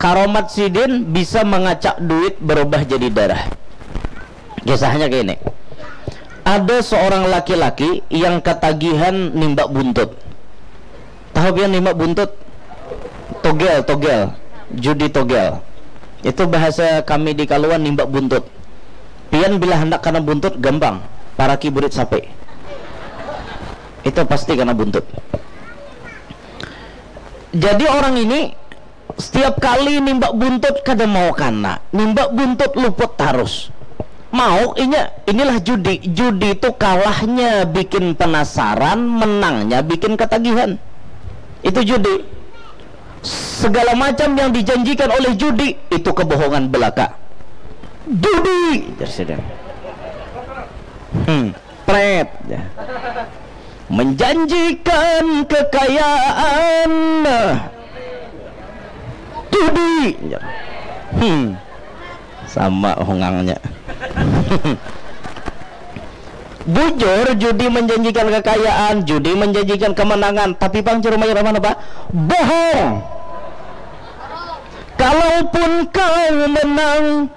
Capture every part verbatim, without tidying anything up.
Karomat sidin bisa mangacak duit berubah jadi darah. Kisahnya kayak ini. Ada seorang laki-laki yang ketagihan nimbak buntut. Tahu pian nimbak buntut? Togel, togel. Judi togel. Itu bahasa kami di Kaluan, nimbak buntut. Pian bila hendak kena buntut, gampang. Paraki burit sapi. Itu pasti kena buntut. Jadi orang ini setiap kali nimbak buntut kada mau kana, nimbak buntut luput tarus. Mau inya, inilah judi. Judi itu kalahnya bikin penasaran, menangnya bikin ketagihan. Itu judi. Segala macam yang dijanjikan oleh judi itu kebohongan belaka. Judi, hmm, pret, ya. Menjanjikan kekayaan. Judi. Hmm. Sama hungangnya. Bujur, judi menjanjikan kekayaan, judi menjanjikan kemenangan, tapi pang Jero Irama napa? Bohong. Kalaupun kau menang,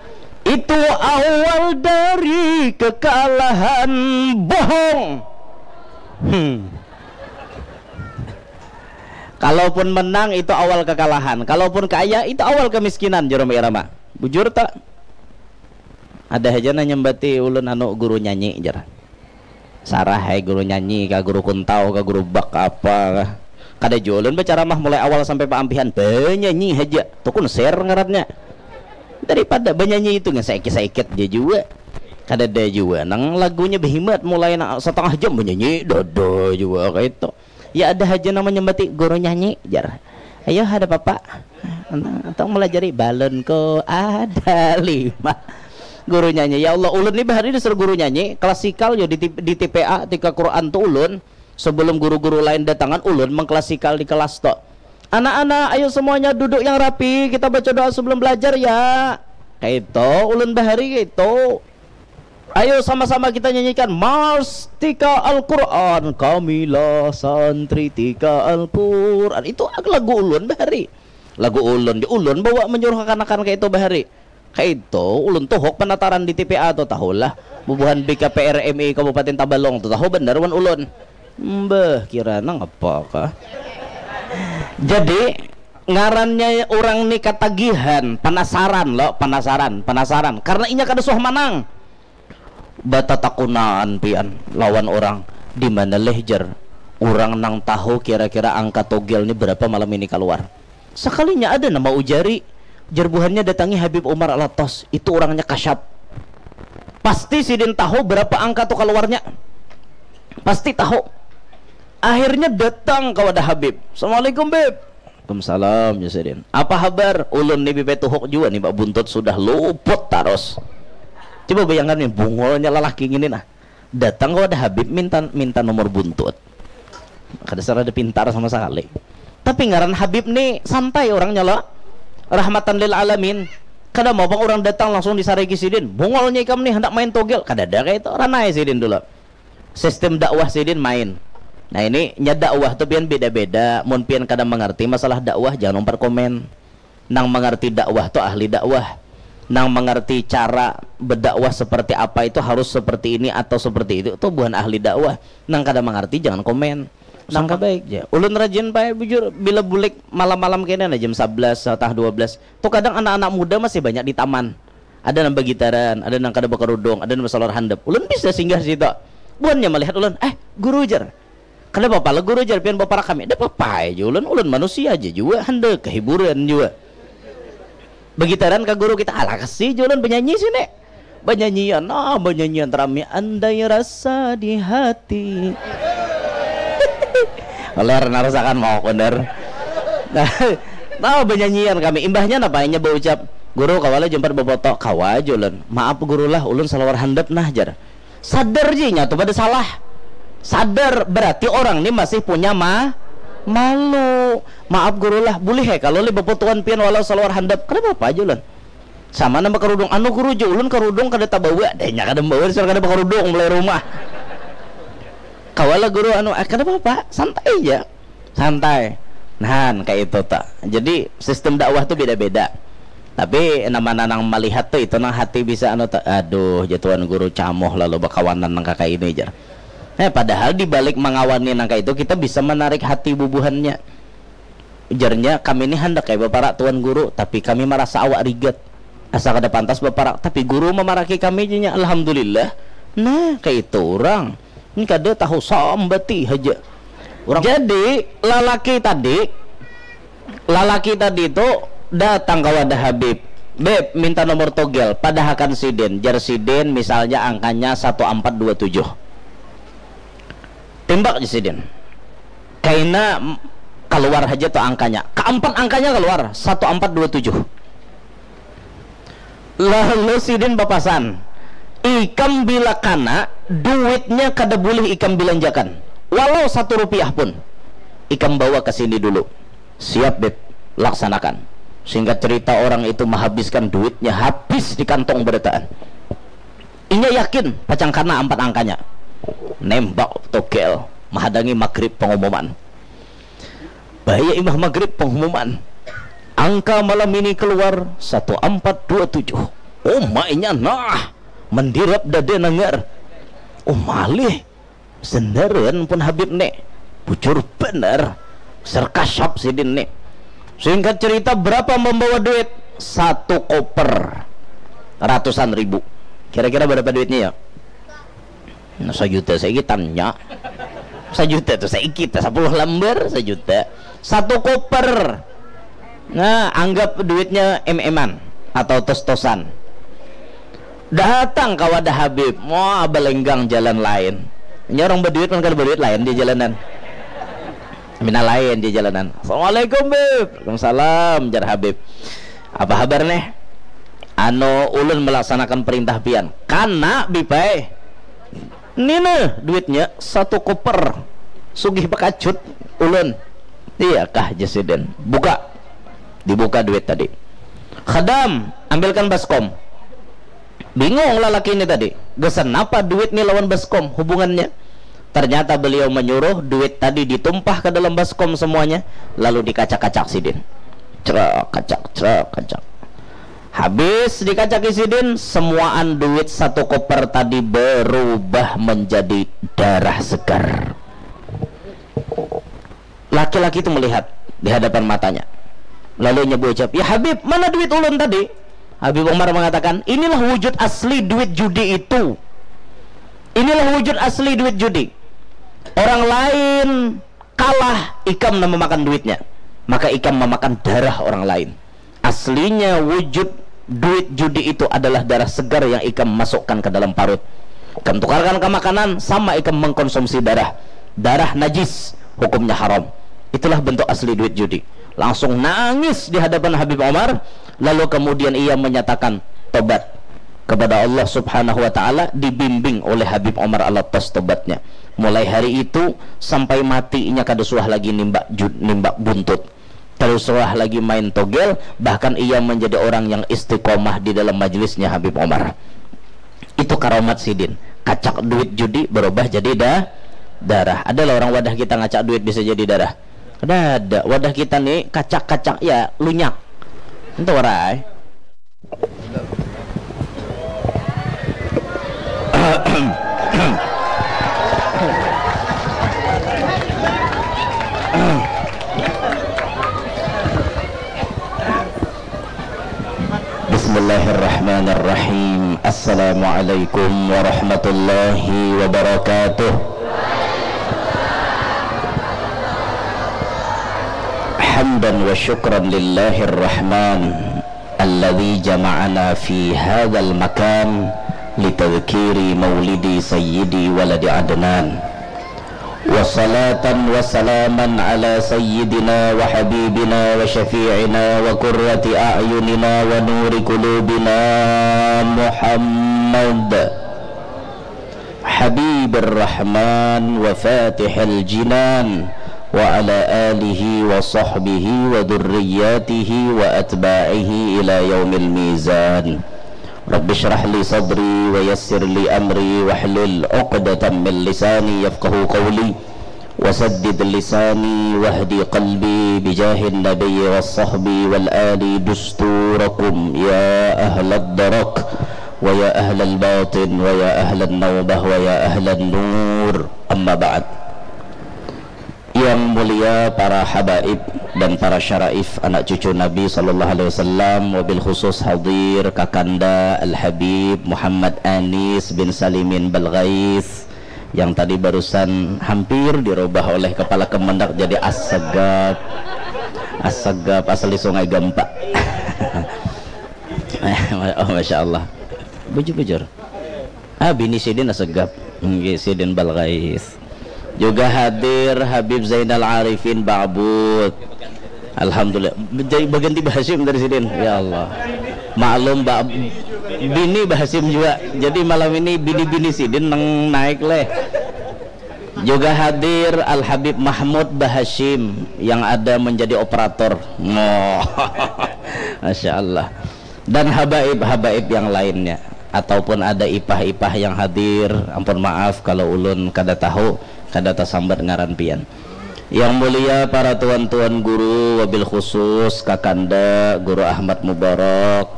itu awal dari kekalahan. Bohong. Hmm. Kalaupun menang, itu awal kekalahan. Kalaupun kaya, itu awal kemiskinan, Jero Irama. Bujur tak? Ada haja nang nyambati ulun anu guru nyanyi, jar. Sarah ai guru nyanyi kah, guru kuntau kah, guru bak kah, apa kah. Kada jua ulun bacaramah mulai awal sampai paampihan, banyanyi haja. Tu konser ngarannya. Daripada banyanyi itu ngesaikit-saikit ja jua. Kadada jua nang lagunya behimat mulai nang satangah jam banyanyi, dada jua kaitu. Ya ada haja nang manyambati guru nyanyi, jar. Ayo, ada papa. Atau melajari balonku ada lima. Guru nyanyi, ya Allah, ulun ni bahari disuruh guru nyanyi, klasikal yo di, T- di T P A, tika Quran tu ulun, sebelum guru-guru lain datangan, ulun mengklasikal di kelas tu. Anak-anak, ayo semuanya duduk yang rapi, kita baca doa sebelum belajar ya. Kaitu, ulun bahari kaitu. Ayo sama-sama kita nyanyikan Mars Tika Al-Quran, kamilah santri Tika Al-Quran. Itu lagu ulun bahari. Lagu ulun, di ulun bawa menyuruh kekanakan kaitu bahari. Kaitu, ulun tuhuk penataran di T P A tu, tahulah. Bubuhan B K P R M I Kabupaten Tabalong tu, tahu banar wan ulun. Mbah, kira nang apa kah? Jadi, ngarannya orang ni katagihan, penasaran lo, penasaran, penasaran. Karena inya kada suah manang. Batatakunaan pian lawan orang, di mana leh, jar, orang nang tahu kira-kira angka togel ni berapa malam ini keluar. Sekalinya ada nama ujari, jar buhannya datangi Habib Umar Alatas, itu orangnya kasyap. Pasti sidin tahu berapa angka tu keluarnya. Pasti tahu. Akhirnya datang ke wadah Habib. Assalamualaikum, Bib. Waalaikumsalam, ya sidin. Apa habar? Ulun ni bipai tuhuk jua ni, Pak Buntut sudah luput tarus. Coba bayangkan ni, bungulnya lelaki ngini nah. Datang ke wadah Habib minta minta nomor buntut. Kada serada pintar sama sekali. Tapi ngaran Habib ni santai orangnya lo. Rahmatan lil alamin. Kada mau pang orang datang langsung disariki sidin. Bungulnya ikam ni hendak main togel. Kada ada kayak itu. Ranai sidin dulu. Sistem dakwah sidin main. Nah, ini nya dakwah tu pian beda-beda. Mun pian kada mengerti masalah dakwah, jangan umpat komen. Nang mengerti dakwah tu ahli dakwah. Nang mengerti cara berdakwah seperti apa itu harus seperti ini atau seperti itu, tu buhan ahli dakwah. Nang kada mengerti jangan komen. Sangka baik ja. Ulun rajin bae bujur bila bulik malam-malam kena nah jam sebelas atau dua belas. Tu kadang anak-anak muda masih banyak di taman. Ada nang bagitaran, ada nang kada bakarudung, ada nang basalawar handap. Ulun bisa singgah situ. Buhannya melihat ulun, "Eh, guru," jar. "Kada apa-apa lah guru," jar, "pian baparak kami." "Kada apa-apa aja ulun, ulun manusia aja jua, handak kehiburan jua." Bagitaran ka guru kita, "Alah kasi," jar ulun, "banyanyi sini." Banyanyian, nah, banyanyian rami, andai rasa di hati. Ler narasakan mau kunder. Nah, nah, banyanyian kami. Imbahnya napa inya baucap, "Guru, kawa lah jumpat bafoto?" "Kawa," jar ulun. "Maaf guru lah, ulun salawar handap nah," jar. Sadar ji inya tu pada salah. Sadar, berarti orang ni masih punya ma malu. "Maaf guru lah, bulih he kalau lih bafotoan pian walau salawar handap?" "Kada apa-apa," jar ulun. "Sama nang bakarudung." "Anu guru," jar ulun, "karudung kada tabawa." Dah inya kada membawa, dasar kada bakarudung mulai rumah. "Kawa lah guru, anu," "Ah, kada apa-apa, santai ja." Santai. Nah, kayak itu tak. Jadi sistem dakwah tuh beda-beda. Tapi nama nanang melihat tuh itu nang hati bisa anu tak, aduh, jatuhan guru camoh lalu bakawanan nang kayak ini jar. Eh, padahal di balik mengawani nang kayak itu kita bisa menarik hati bubuhannya. Ujarnya, kami ini hendak kayak bapak tuan guru, tapi kami merasa awak rigat. Asa kada pantas baparak, tapi guru mamaraki kami jenya, alhamdulillah. Nah, kayak itu orang. Ini kada tahu sambati haja. Orang jadi lalaki tadi, lalaki tadi itu datang ke wadah Habib. Beb, minta nomor togel, padahakan sidin. Jar sidin misalnya angkanya satu empat dua tujuh. Timbak je sidin. Kaina keluar haja tuh angkanya. Keempat angkanya keluar, satu empat dua tujuh. Lalu sidin bapasan, ikam bila kana, duitnya kada boleh ikam belanjakan, walau satu rupiah pun. Ikam bawa ke sini dulu. Siap, Beb. Laksanakan. Singkat cerita, orang itu menghabiskan duitnya habis di kantong berataan. Inya yakin pacang kana empat angkanya. Nembak togel, mahadangi maghrib pengumuman. Bahaya imah maghrib pengumuman. Angka malam ini keluar satu empat dua tujuh. Umainya nah, mendirap dada nanggar. Oh malih, sendaran pun Habib ne. Bujur bener. Serkasap sidin ne. Singkat cerita, berapa membawa duit? Satu koper. Ratusan ribu. Kira-kira berapa duitnya ya? Nah, sajuta saiki tanya. Sajuta tuh saiki, sepuluh lembar sajuta. Satu koper. Nah, anggap duitnya em-eman atau tos-tosan. Datang ke wadah Habib, wah, belenggang jalan lain. Ini orang berduit kan, kalau berduit lain di jalanan. Mina lain di jalanan. Assalamualaikum, Bib. Waalaikumsalam, jar Habib. Apa habar neh? Anu, ulun melaksanakan perintah pian. Kana, Bib ai. Nina duitnya satu koper. Sugih bakacut ulun. Iya kah, jar sidin. Buka. Dibuka duit tadi. Khadam, ambilkan baskom. Bingung lalaki ini tadi. Gasan apa duit ni lawan baskom hubungannya? Ternyata beliau menyuruh duit tadi ditumpah ke dalam baskom semuanya, lalu dikacak-kacak sidin. Cerak, kacak, cerak, kacak. Habis dikacaki sidin, semuaan duit satu koper tadi berubah menjadi darah segar. Laki-laki itu melihat di hadapan matanya. Lalu inya berucap, "Ya Habib, mana duit ulun tadi?" Habib Umar mengatakan, "Inilah wujud asli duit judi itu. Inilah wujud asli duit judi. Orang lain kalah, ikam nang memakan duitnya. Maka ikam memakan darah orang lain." Aslinya wujud duit judi itu adalah darah segar yang ikam masukkan ke dalam parut. Ikam tukarkan ke makanan, sama ikam mengkonsumsi darah. Darah najis, hukumnya haram. Itulah bentuk asli duit judi. Langsung nangis di hadapan Habib Omar, lalu kemudian ia menyatakan tobat kepada Allah Subhanahu wa Ta'ala, dibimbing oleh Habib Omar Alatas tobatnya. Mulai hari itu sampai mati inya kada suah lagi nimbak, nimbak buntut. Kada suah lagi main togel, bahkan ia menjadi orang yang istiqomah di dalam majlisnya Habib Omar. Itu karomat sidin. Kacak duit judi berubah jadi da darah. Adalah orang wadah kita ngacak duit bisa jadi darah? Kada ada. Wadah kita ni kacak-kacak ya lunyak. Itu warai. Bismillahirrahmanirrahim. Assalamualaikum warahmatullahi wabarakatuh. Hamdan wa syukran lillahir rahman, alladzi jama'ana fi hadzal makan litadzkiri maulidi sayyidi waladi Adnan. Wa salatan wa salaman ala sayyidina wa habibina wa syafi'ina wa qurrati a'yunina wa nuri qulubina Muhammad habibir rahman wa fatihil jinan wa ala alihi wa sahbihi wa dzurriyyatihi wa atba'ihi ila yaumil mizan. Rabbi shrah li sadri wa yassir li amri wahlul uqdatam min lisani yafqahu qawli. وسدد لساني واهد قلبي بجاه النبي والصحب والآل دستوركم يا أهل الدرك ويا أهل الباطن ويا أهل النوبة ويا أهل النور. أما بعد. Yang mulia para habaib dan para syaraif anak cucu Nabi sallallahu alaihi wasallam, wabil khusus hadir Kakanda Al Habib Muhammad Anis bin Salimin Balgais yang tadi barusan hampir dirubah oleh kepala kemendak jadi Assegap. Assegap asli Sungai Gampa. Oh, Masya Allah. Bujur-bujur. Ah, bini sidin Assegap. Nggih, sidin Balgais. Juga hadir Habib Zainal Arifin Ba'but. Alhamdulillah. Jadi baganti Bahasim dari sidin. Ya Allah. Maklum, Mbak, bini Bahasim juga. Jadi malam ini bini-bini sidin nang naik leh. Juga hadir Al Habib Mahmud Bahashim yang ada menjadi operator. Oh. Masya Allah. Dan habaib-habaib yang lainnya. Ataupun ada ipah-ipah yang hadir, ampun maaf kalau ulun kada tahu, kada tasambat ngaran pian. Yang mulia para tuan-tuan guru, wabil khusus Kakanda Guru Ahmad Mubarak,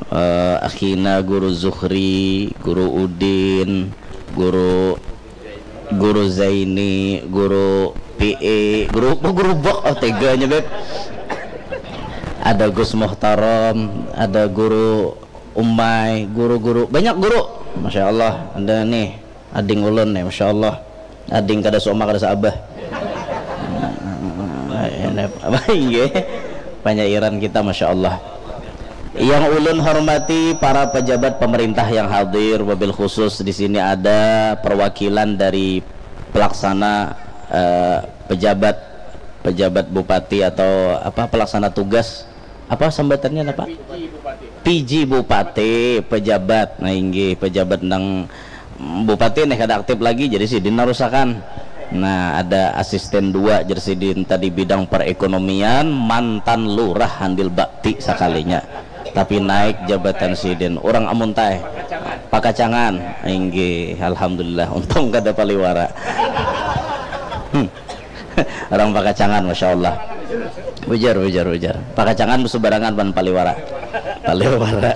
eh, Akhina Guru Zuhri, Guru Udin, Guru Guru Zaini, Guru P E, Guru apa, Guru Bok, oh teganya beb. Ada Gus Muhtarom, ada Guru Umai, guru-guru, banyak guru. Masya Allah, ada nih, ading ulun nih, Masya Allah. Ading kada suama kada saabah. Apa inggih? Panyairan kita, Masya Allah. Yang ulun hormati para pejabat pemerintah yang hadir, wabil khusus di sini ada perwakilan dari pelaksana, eh, pejabat, pejabat bupati atau apa, pelaksana tugas, apa sambatannya apa? P J Bupati, pejabat. Nah, inggih, pejabat nang bupati nih kada aktif lagi, jadi sidin narusakan. Nah, ada asisten dua, jar sidin tadi bidang perekonomian, mantan lurah Handil Bakti sakalinya. Tapi naik jabatan sidin. Orang Amuntai. Pakacangan. Inggih, alhamdulillah. Untung kada paliwara. Hmm. Orang Pakacangan, Masya Allah. Ujar, ujar, ujar. Pakacangan subarangan pan paliwara. Paliwara.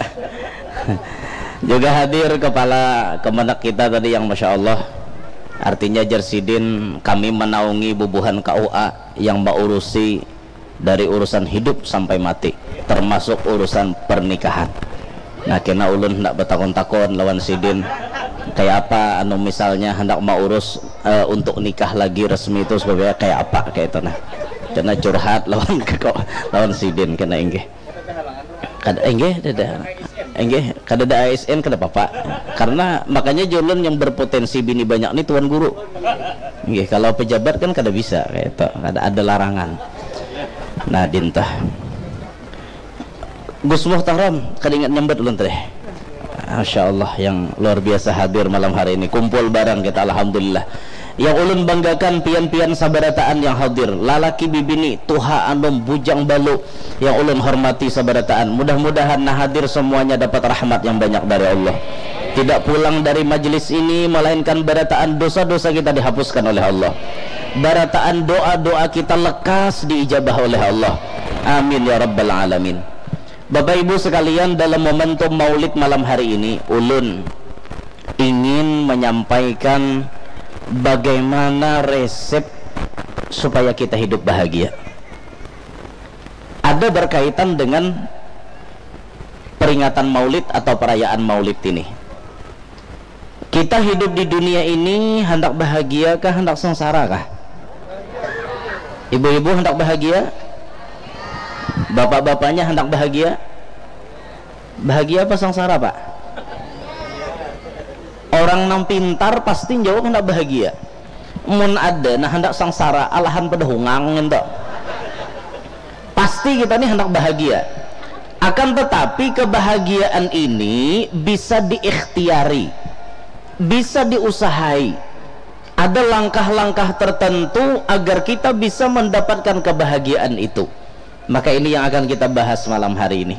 Juga hadir kepala kemendak kita tadi yang Masya Allah. Artinya, jar sidin, kami menaungi bubuhan K U A yang maurusi dari urusan hidup sampai mati, termasuk urusan pernikahan. Nah, kena ulun hendak betakun-takun lawan sidin, kayak apa anu misalnya hendak maurus, eh, untuk nikah lagi resmi itu supaya kayak apa kayak itu nah. Kena curhat lawan keko, lawan sidin kena inggih. Kada, inggih, kada. Inggih, kada ada A S N kada apa-apa. Karena makanya julun yang berpotensi bini banyak ni tuan guru. Inggih, kalau pejabat kan kada bisa kayak itu, kada ada larangan. Nah, dintah. Gus Muhtaram, kada ingat nyambat ulun tadi. Masya Allah, yang luar biasa hadir malam hari ini. Kumpul barang kita, alhamdulillah. Yang ulun banggakan pian-pian sabarataan yang hadir, lalaki bibini, tuha anum, bujang balu, yang ulun hormati sabarataan. Mudah-mudahan nah hadir semuanya dapat rahmat yang banyak dari Allah. Tidak pulang dari majlis ini melainkan barataan dosa-dosa kita dihapuskan oleh Allah. Barataan doa-doa kita lekas diijabah oleh Allah. Amin ya rabbal alamin. Bapak Ibu sekalian, dalam momentum Maulid malam hari ini, ulun ingin menyampaikan bagaimana resep supaya kita hidup bahagia. Ada berkaitan dengan peringatan Maulid atau perayaan Maulid ini. Kita hidup di dunia ini hendak bahagia kah, hendak sengsara kah? Ibu-ibu hendak bahagia? Bapak-bapaknya hendak bahagia? Bahagia apa sengsara, Pak? Orang nang pintar pasti jawab hendak bahagia. Mun ada nah hendak sengsara, alahan pada hungang ento. Pasti kita nih hendak bahagia. Akan tetapi kebahagiaan ini bisa diikhtiari, bisa diusahai. Ada langkah-langkah tertentu agar kita bisa mendapatkan kebahagiaan itu. Maka ini yang akan kita bahas malam hari ini.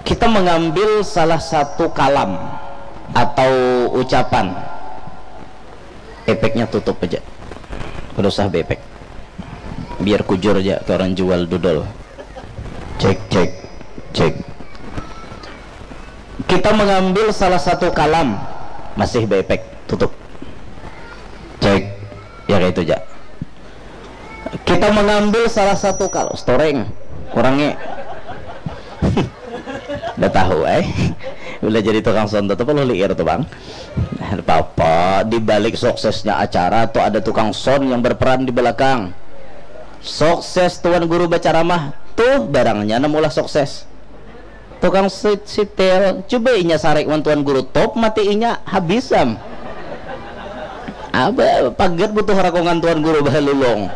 Kita mengambil salah satu kalam atau ucapan Epeknya tutup aja. Kada usah bepek. Biar kujur aja ke orang jual dodol. Cek, cek, cek. Kita mengambil salah satu kalam, masih bepek, tutup. Cek, ya kayak itu aja. Kita mengambil salah satu kalam, storeng, kurangi. Udah tahu eh. Udah jadi tukang sound tetap lo liir tuh bang. Apa-apa, di balik suksesnya acara tuh ada tukang sound yang berperan di belakang. Sukses tuan guru bacaramah tuh barangnya namulah sukses. Tukang sitel, coba inya sarik wan tuan guru top mati inya habis am. Apa pagat butuh rakungan tuan guru bahalulung.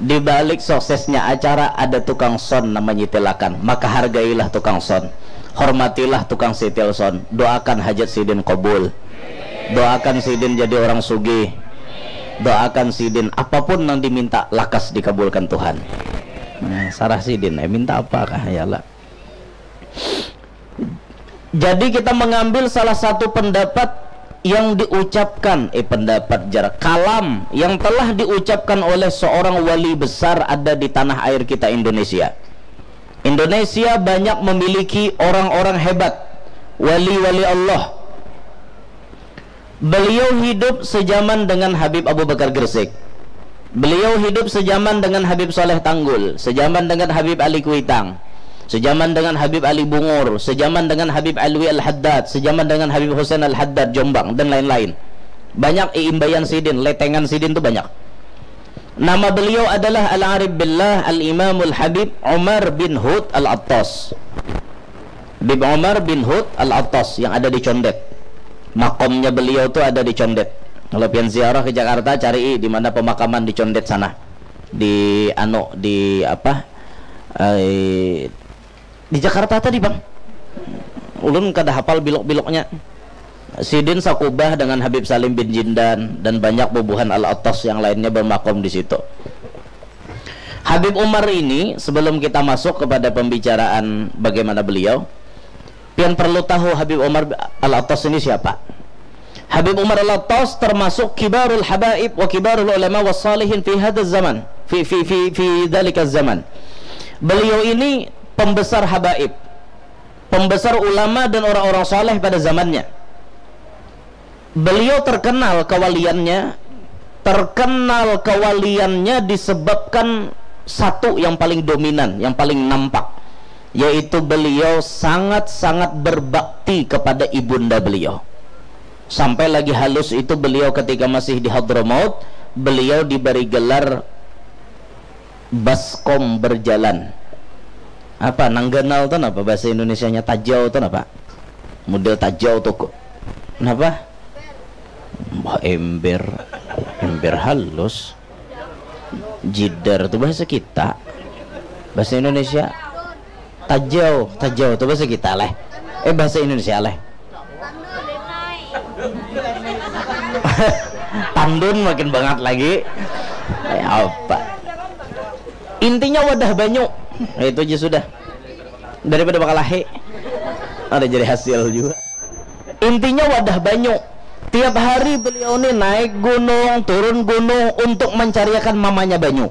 Di balik suksesnya acara ada tukang sound nang manyitilakan, maka hargailah tukang sound, hormatilah tukang sitil sound, doakan hajat sidin kobul, doakan sidin jadi orang sugih, doakan sidin apapun nang diminta lakas dikabulkan Tuhan. Nah, sarah sidin eh minta apa kah ya lah. Jadi kita mengambil salah satu pendapat yang diucapkan, eh pendapat jarak kalam yang telah diucapkan oleh seorang wali besar ada di tanah air kita Indonesia. Indonesia banyak memiliki orang-orang hebat, wali-wali Allah. Beliau hidup sejaman dengan Habib Abu Bakar Gresik. Beliau hidup sejaman dengan Habib Saleh Tanggul, sejaman dengan Habib Ali Kuitang, sejaman dengan Habib Ali Bungur, sejaman dengan Habib Alwi Al-Haddad, sejaman dengan Habib Husain Al-Haddad Jombang dan lain-lain. Banyak iimbayan sidin, letengan sidin tu banyak. Nama beliau adalah Al-Arif Billah Al-Imamul Habib Umar bin Hud Al-Attas. Bib Omar bin Hud Al-Attas yang ada di Condet. Makomnya beliau tu ada di Condet. Kalau pian ziarah ke Jakarta, cari di mana pemakaman di Condet sana. Di anu di apa? Eh, di Jakarta tadi bang. Ulun kada hafal bilok-biloknya. Sidin sakubah dengan Habib Salim bin Jindan dan banyak bubuhan Al-Attas yang lainnya bermakom di situ. Habib Umar ini, sebelum kita masuk kepada pembicaraan bagaimana beliau, pian perlu tahu Habib Umar Al-Attas ini siapa. Habib Umar Al-Attas termasuk kibarul habaib wa kibarul ulama wa salihin fi hadha zaman, fi fi fi fi dalika zaman. Beliau ini pembesar habaib, pembesar ulama dan orang-orang saleh pada zamannya. Beliau terkenal kewaliannya, terkenal kewaliannya disebabkan satu yang paling dominan, yang paling nampak, yaitu beliau sangat-sangat berbakti kepada ibunda beliau. Sampai lagi halus itu beliau ketika masih di Hadramaut, beliau diberi gelar baskom berjalan. Apa nang ganal tu napa bahasa Indonesianya tajau tu napa? Model tajau tu kok. Napa? Bah ember, ember halus. Jidar tu bahasa kita. Bahasa Indonesia tajau, tajau tu bahasa kita leh. Eh bahasa Indonesia leh. Tandun makin bangat lagi. Eh, apa? Intinya wadah banyu. Eh, itu aja sudah. Daripada bakalahi. Ada jadi hasil juga. Intinya wadah banyu. Tiap hari beliau ni naik gunung, turun gunung untuk mencariakan mamanya banyu.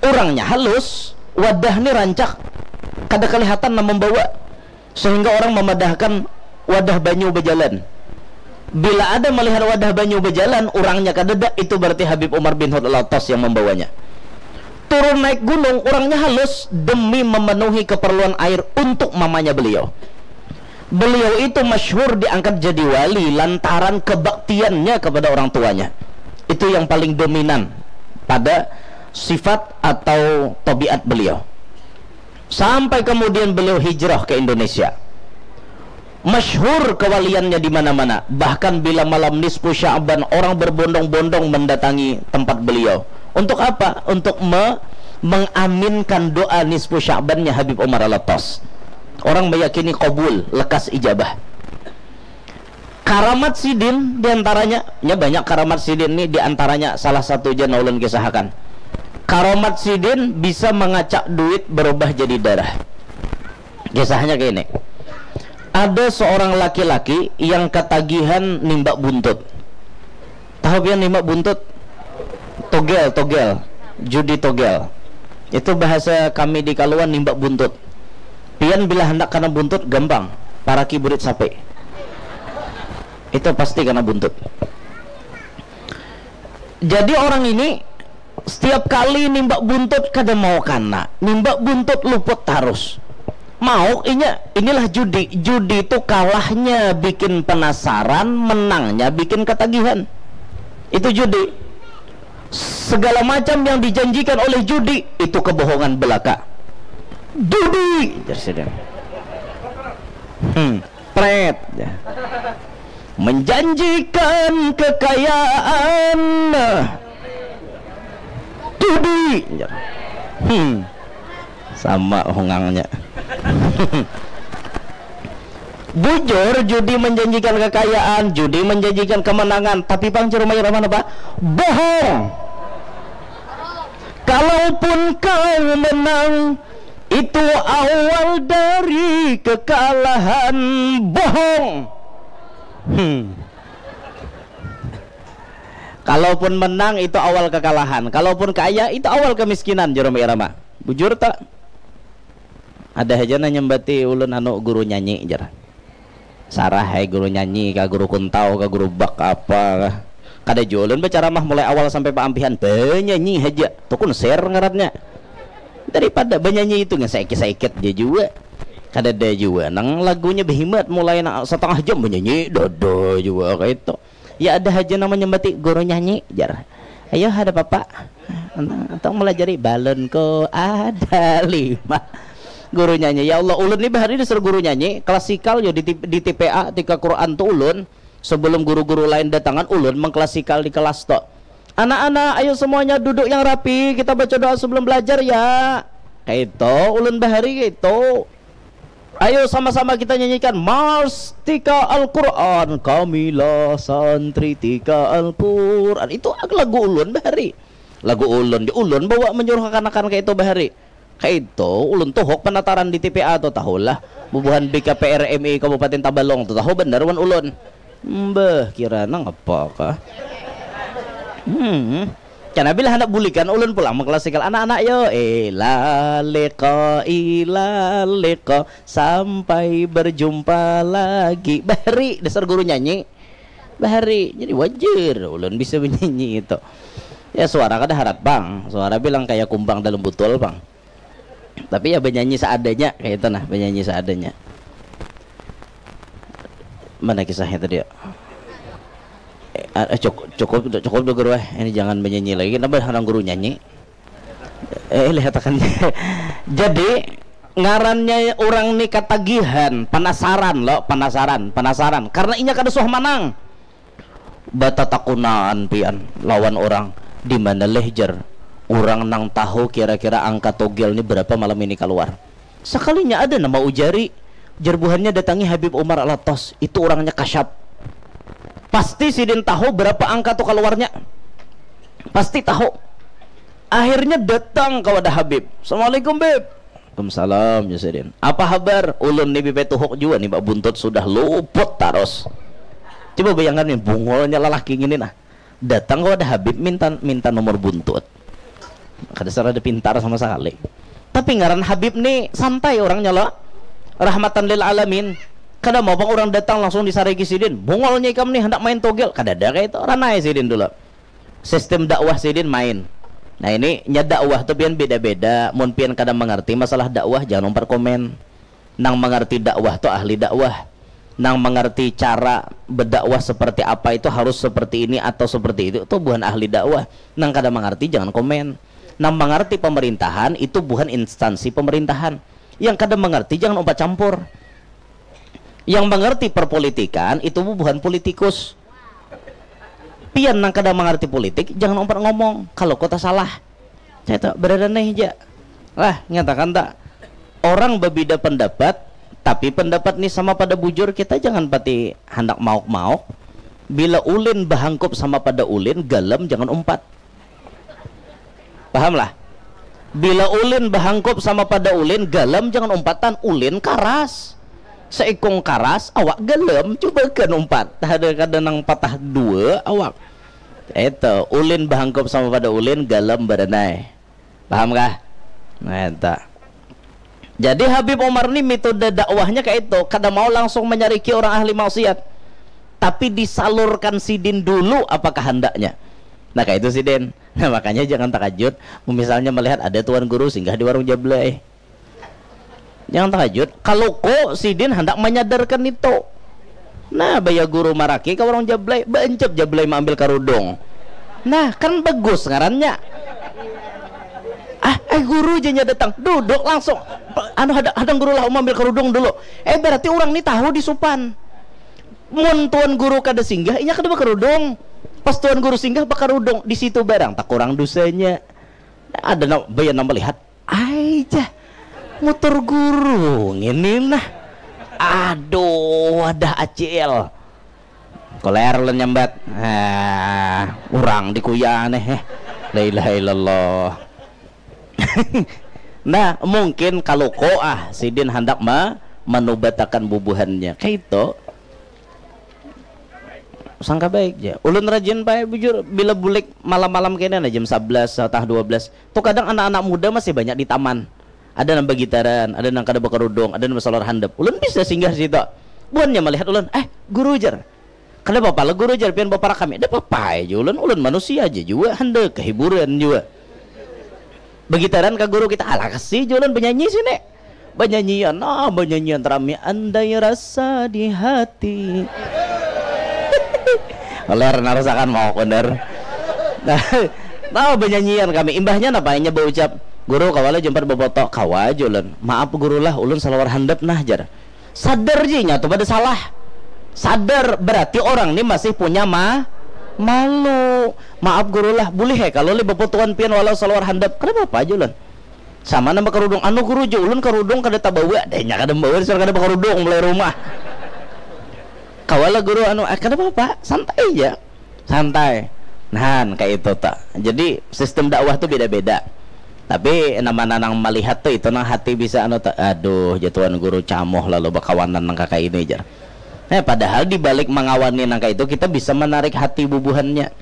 Orangnya halus, wadah ni rancak, kada kelihatan nang membawa. Sehingga orang memadahkan wadah banyu bejalan. Bila ada melihat wadah banyu bejalan, orangnya kadada, itu berarti Habib Umar bin Hud Al-Attas yang membawanya. Turun naik gunung, orangnya halus demi memenuhi keperluan air untuk mamanya beliau. Beliau itu masyhur diangkat jadi wali lantaran kebaktiannya kepada orang tuanya. Itu yang paling dominan pada sifat atau tabiat beliau. Sampai kemudian beliau hijrah ke Indonesia. Masyhur kewaliannya di mana-mana. Bahkan bila malam nisfu Sya'ban orang berbondong-bondong mendatangi tempat beliau. Untuk apa? Untuk me- mengaminkan doa nisfu Sya'bannya Habib Umar Alatas. Orang meyakini kabul, lekas ijabah. Karamat sidin diantaranya, nya banyak karamat sidin ni, diantaranya salah satu ja nang ulun kisahakan. Karamat sidin bisa mangacak duit berubah jadi darah. Kisahnya kayak ini. Ada seorang laki-laki yang ketagihan nimbak buntut. Tahu pian nimbak buntut? Togel, togel. Judi togel. Itu bahasa kami di Kaluan, nimbak buntut. Pian bila handak kana buntut, gampang. Paraki burit sapi. Itu pasti kana buntut. Jadi orang ini setiap kali nimbak buntut kada mau kana. Nimbak buntut luput tarus. Mau inya, inilah judi. Judi itu kalahnya bikin penasaran, menangnya bikin ketagihan. Itu judi. Segala macam yang dijanjikan oleh judi itu kebohongan belaka. Judi, jar sidin. Hmm, pret. Menjanjikan kekayaan. Judi, jar. Hmm. Sama hungangnya. Bujur, judi menjanjikan kekayaan, judi menjanjikan kemenangan, tapi pang jar Rhoma Irama napa? Bohong. Kalaupun kau menang, itu awal dari kekalahan. Bohong. Hmm. Kalaupun menang, itu awal kekalahan. Kalaupun kaya, itu awal kemiskinan, jar Rhoma Irama. Bujur tak? Ada haja nang nyambati ulun, anu, guru nyanyi, jar. Sarah ai, guru nyanyi kah, guru kuntau kah, guru bak apa kah. Kada jua ulun bacaramah mulai awal sampai paampihan, banyanyi haja. Tu konser ngarannya. Daripada banyanyi itu ngan saikit-saikit ja jua. Kadada jua nang lagunya behimat, mulai nang satangah jam banyanyi, dada jua kaitu. Ya ada haja nang manyambati guru nyanyi, jar. Ayo, ada papa. Atau melajari balonku ada lima. Guru nyanyi, ya Allah, ulun ni bahari disuruh guru nyanyi, klasikal yo di, di T P A, tika Quran tu ulun, sebelum guru-guru lain datangan, ulun mengklasikal di kelas tu. Anak-anak, ayo semuanya duduk yang rapi, kita baca doa sebelum belajar ya. Kaitu, ulun bahari kaitu. Ayo sama-sama kita nyanyikan Mars Tika Al-Quran, kamilah santri Tika Al-Quran. Itu lagu ulun bahari. Lagu ulun, di ulun bawa menyuruh kekanakan kaitu bahari. Kaitu, ulun tuhuk penataran di T P A tu, tahulah. Bubuhan B K P R M I Kabupaten Tabalong tu, tahu banar wan ulun. Mbah, kira nang apa kah? Hmm. Karena bila hendak bulikan ulun pulang mengklasikal anak-anak yo. Ila liqa, ila liqa, sampai berjumpa lagi. Bahari, dasar guru nyanyi. Bahari, jadi wajar ulun bisa menyanyi itu. Ya, suara kada harat, Bang. Suara bilang kayak kumbang dalam botol, Bang. Tapi ya, benyanyi seadanya, kayak itu nah, benyanyi seadanya. Mana kisahnya tadi ya? Eh, ah, eh, cukup, cukup, cukup dulu, Guru, eh. Ini jangan menyanyi lagi. Kenapa orang guru nyanyi? Eh, lihatakan. Jadi, ngarannya orang ni katagihan, penasaran lo, penasaran, penasaran. Karena inya kada suah manang. Batatakunaan pian lawan orang, di mana leh, jar, orang nang tahu kira-kira angka togel ni berapa malam ini keluar. Sekalinya ada nama ujari, jar buhannya, datangi Habib Umar Alatas, itu orangnya kasyap. Pasti sidin tahu berapa angka tu keluarnya. Pasti tahu. Akhirnya datang ke wadah Habib. Assalamualaikum, Bib. Waalaikumsalam, ya sidin. Apa habar? Ulun ni bibit tuhuk jua ni, Mbak, buntut sudah luput tarus. Coba bayangkan nih, bungulnya lelaki gini nah. Datang ke wadah Habib minta minta nomor buntut. Kada serada pintar sama sekali. Tapi ngaran Habib ni santai orangnya lo. Rahmatan lil alamin. Kada mau bang orang datang langsung disariki sidin. Bungulnya ikam nih hendak main togel. Kada ada kayak itu. Ranai sidin dulu. Sistem dakwah sidin main. Nah, ini nya dakwah tu pian beda-beda. Mun pian kada mengerti masalah dakwah, jangan umpat komen. Nang mengerti dakwah tu ahli dakwah. Nang mengerti cara berdakwah seperti apa itu harus seperti ini atau seperti itu, tu bukan ahli dakwah. Nang kada mengerti jangan komen. Nang mengerti pemerintahan itu bukan instansi pemerintahan. Yang kada mengerti jangan umpat campur. Yang mengerti perpolitikan itu bukan politikus. Pian nang kada mengerti politik, jangan umpat ngomong kalau kota salah. Saya tak berada nih aja. Lah, nyatakan tak? Orang berbeda pendapat, tapi pendapat ni sama pada bujur, kita jangan pati handak mauk-mauk. Bila ulin bahangkup sama pada ulin, galam jangan umpat. Paham lah? Bila ulin bahangkup sama pada ulin, galam jangan umpatan, ulin karas. Seikung karas, awak galam, coba kan umpat. Ada kada nang patah dua awak. Itu ulin bahangkup sama pada ulin, galam baranai. Paham kah? Nah, itu. Jadi Habib Umar ni metode dakwahnya kayak itu, kada mau langsung menyariki orang ahli maksiat, tapi disalurkan sidin dulu apa kehendaknya. Nah, kayak itu sidin. Nah, makanya jangan takajut misalnya melihat ada tuan guru singgah di warung Jablay. Jangan takajut, kalau ko sidin hendak menyadarkan itu. Nah, baya guru maraki ke warung Jablay, baancap Jablay maambil karudung. Nah, kan bagus ngarannya. Ah, eh guru janya datang, duduk langsung. Anu, hadang, hadang guru lah, maambil karudung dulu. Eh, berarti orang ni tahu di supan. Mun tuan guru kada singgah, inya kada bakarudung. Pas tuan guru singgah, bakarudung. Di situ barang takurang dosanya. Ada na, baya nang melihat, ai jah, mutur guru ngini nah. Aduh, wadah acil. Koler ulun nyambat. Ah, urang dikuya aneh, eh. La ilaha illallah. Nah, mungkin kalau ko ah, sidin handak ma-, manubatakan bubuhannya. Kayak itu. Sangka baik ja. Ulun rajin bae bujur, bila bulik malam-malam kena nah, jam sebelas atau dua belas. Tu kadang anak-anak muda masih banyak di taman. Ada nang bagitaran, ada nang kada bakarudung, ada nang basalawar handap. Ulun bisa singgah situ. Buhannya melihat ulun, "Eh, guru," jar. "Kada apa-apa lah guru," jar, "pian baparak kami." "Kada apa-apa aja ulun, ulun manusia aja jua, handak kehiburan jua." Bagitaran ka guru kita, "Alah, kasi ja ulun banyanyi sini." Banyanyian, nah, banyanyian rami, "Andai rasa di hati." Ler narasakan mau kunder. Nah, nah, banyanyian kami. Imbahnya napa inya baucap, "Guru, kawa lah jumpat bafoto?" "Kawa aja ulun." "Maaf guru lah, ulun salawar handap nah," jar. Sadar ja inya tu pada salah. Sadar, berarti orang ni masih punya ma-, malu. "Maaf guru lah, bulih he kalau lih bafotoan pian walau salawar handap?" "Kada apa-apa aja ulun." Sama nang bakarudung, "Anu guru, ja ulun karudung kada tabawa." Deh, nya kada membawa, dasar kada bakarudung mulai rumah. "Kawa lah guru, anu," "Ah, kada apa-apa, santai ja." Santai. Nah, kayak itu ta. Jadi sistem dakwah tu beda-beda. Tapi nama nanang melihat tu itu nang hati bisa anu ta, "Aduh, ja tuan guru camoh lalu bakawanan nang kaka ini," jar. Nah, padahal di balik mangawani nang kayak itu kita bisa menarik hati bubuhannya.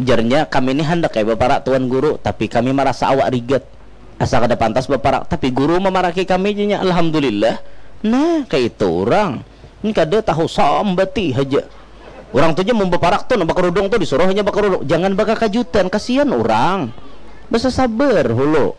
Ujarnya, "Kami ni handak ai baparak tuan guru, tapi kami marasa awak rigat. Asa kada pantas baparak, tapi guru mamaraki kami," janya. Alhamdulillah. Nah, kayak itu orang. Ini kada tahu, sambati haja. Orang tu ja mun baparak tu, nang bakarudung tu disuruh hanya bakarudung. Jangan bakakajutan, kasihan orang. Basa sabar hulu.